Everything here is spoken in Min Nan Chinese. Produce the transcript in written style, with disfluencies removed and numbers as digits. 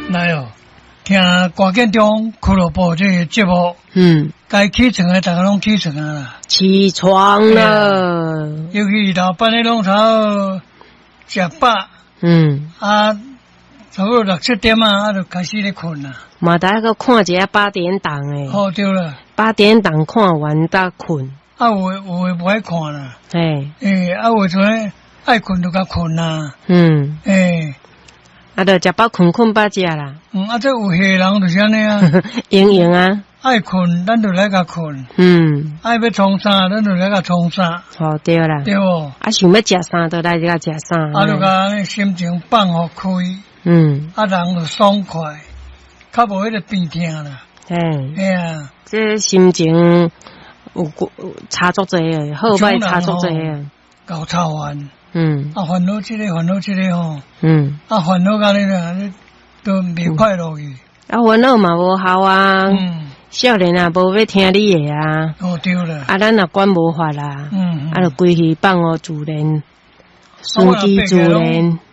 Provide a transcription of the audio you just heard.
來哦，聽歌建中俱樂部這个節目，該起床的逐家攏起床啊啦。起床了。尤其老闆的攏頭食飽，啊，差不多六七點啊，啊就開始咧睏啦。嘛，得閣看一下八點檔的。哦，對啦。八點檔看完才睏。啊，有的無愛看啦。欸，啊，有的陣愛睏就共睏啦。欸。啊，就食飽睏，睏飽食啦。嗯，啊，這有戲人就是按呢啊。閒閒啊。愛睏，咱就來共睏。愛欲創啥，咱就來共創啥。哦，對啦。對無？啊，想欲食啥，就來共食啥。啊，就共心情放予開。啊，人就爽快，較無彼个病痛啦。嘿啊。這心情有差足濟的，好歹差足濟的。𠢕操煩。啊，煩惱這个，煩惱這个吼。啊，煩惱甲你啦，你都袂快樂去。啊，煩惱嘛無效啊。少年啊，無欲聽你的啊。哦，對啦。啊，咱若管無法啦。啊，就規氣放予自然，順其自然。